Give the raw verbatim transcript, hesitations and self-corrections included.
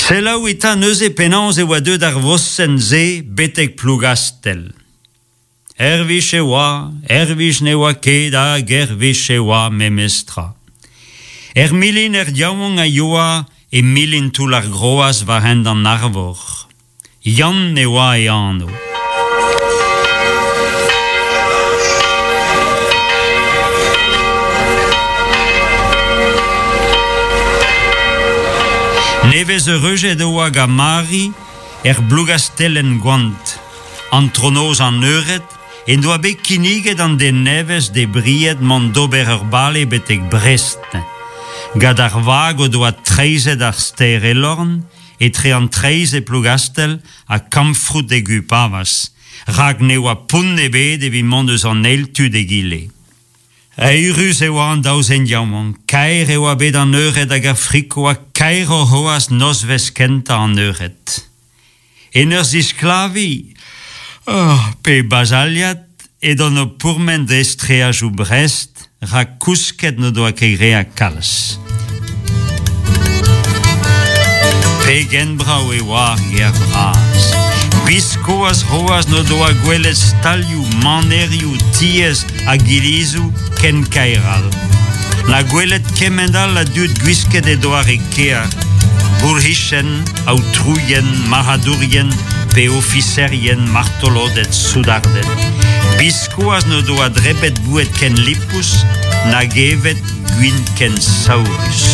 Selaou eta neuze penaos e oa deuet ar vosenn-se betek Plougastell. Erwich e oa, erwich ne oa ket hag erwich e oa memestra. Er milin er yaouank a yoa e milin toull ar groaz war hent an Arvor. Yann e oa e anv. Nevez eureujet e oa gant Mari er Blougastellen goant. An tronoz an eured en doa bet kinniget an den nevez de bried mont d'ober ur bale betek Brest. Gant ar vag o doa treizhet ar stêr Elorn, etre an treizh e Plougastell ha Kamfroud e Gwipavaz, rak ne oa pont ebet evit mont eus an eil tu d'egile. Eürus e oa an daou zen yaouank, kaer e oa bet an eured hag ar friko ha kaer o c'hoazh nozvezh kentañ an eured. En ur zisklaviñ, oh, pe bazaliad, edon o pourmen dre streajoù Brest, rak kousket n'o doa ket graet kalz. Pegen brav e oa ar gêr vras. Biskoazh c'hoazh n'o doa gwelet stalioù, manerioù, tiez hag ilizoù ken kaer all. Na gwelet kement all a dud gwisket e doare kêr, bourc'hizien, aotrouien, marc'hadourien, pe ofiserien, martoloded, soudarded. Biskoazh n'o doa drebet boued ken lipous, nag evet gwin ken saourus.